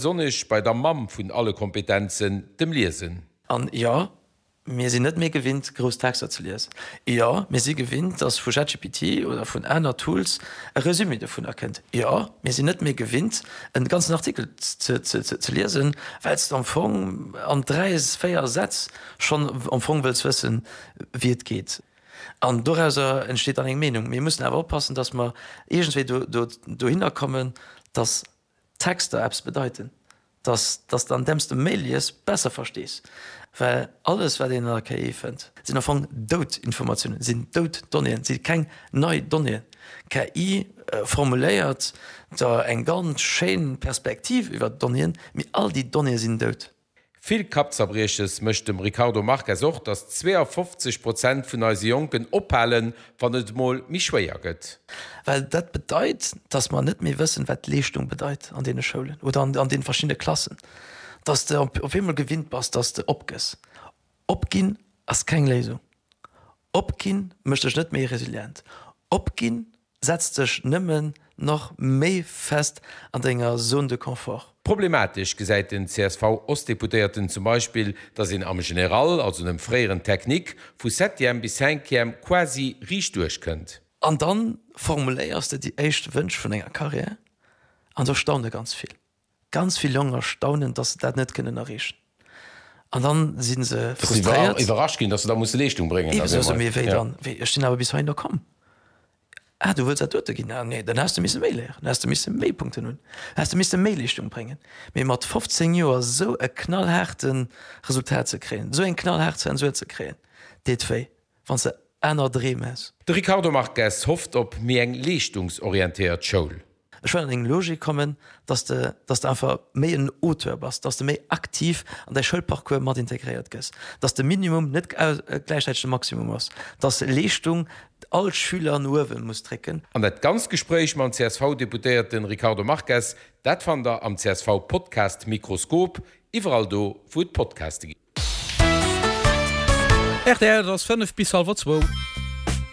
Besonnesch bei der Mamm vun alle Kompetenzen, dem Liesen. An jo, mir sinn net méi gewinnt, grouss Texter ze liesen. Jo, mir si gewinnt, dass vu ChatGPT oder vun aner Tools e Resumé dovunner kënnt. Jo, mir sinn net méi gewinnt, e ganzen Artikel ze liesen, well s de am Fong an 3, 4 Sätz schonn am Fong wëlls wëssen, wéi et geet. An dorauser entsteet dann eng Meenung. Mir mussen awer oppassen, dass mer iergendwéi dohinner kommen, dass Texter eppes bedeiten, dass dass de andeems de méi lies besser verstees, well alles wat een an der KI fënnt, sinn am Fong dout Informatiounen, sinn dout Donnéeën, si keng nei Donnéeën. KI formuléiert der eng ganz schéin Perspektiv iwwer d'Donnéeën, mee all déi Donnéeë sinn dout. Vill Kappzerbrieches mécht dem Ricardo Marques och, datt 52 Prozent vun eise Jonken ophalen, wann et emol méi schwéier gëtt. Well dat bedeit, datt mer net méi wëssen, wat Leeschtung bedeit an deene Schoulen oder an deene verschiddene Klassen. Datt s de op eemol gewinnt bass, datt s de opgëss. Opginn ass keng Léisung. Opginn mécht dech net méi resilient. Opginn setzt dech nëmmen nach méi fest an denger Zone de confort. Problematesch gesäit den CSV-Ostdeputéierten zum Beispill, datt een am General, also dem fréieren Technique, vu Septième bis Cinquième quasi riicht duerch kënnt. An dann formuléiers de déi éischt Wënsch vun enger Carrière an do staune ganz vill. Ganz vill Jonker staunen, dass se dat net kënnen erreechen. An dann si se frustréiert. Iwwerrascht ginn, dass se da musse Leeschtung bréngen. Eben, sou, mee wéi dann? Wéi, ech sinn awer bis heihinner komm. Ah, du wëlls dat dote ginn? Ah, nee, dann häss de misse méi léieren, dann häss de misse méi Punkten hunn, dann häss de misse méi Leeschtung bréngen. Mee mat 15 Joer esou e knallhaarte Resultat ze kréien, esou eng knallhaart Zensur ze kréien, deet wéi, wann s de aner Dreem häss. De Ricardo Marques hofft op méi eng leeschtungsorientéiert Schoul. Ech wëll an eng Logik kommen, dass de, dass de einfach méi en Auteur bass, dass de méi aktiv an däi Schoulparcours mat integréiert gëss, dass de Minimum net gläichzäiteg de Maximum ass, dass Leeschtung all Schüler no uewe muss drécken. An dat ganzt Gespréich mam CSV-Deputéierten Ricardo Marques, dat fannt der am CSV-Podcast Mikroskop, iwwerall do wou et Podcaste ginn. Rtl, et ass 5 bis hallwer zwou.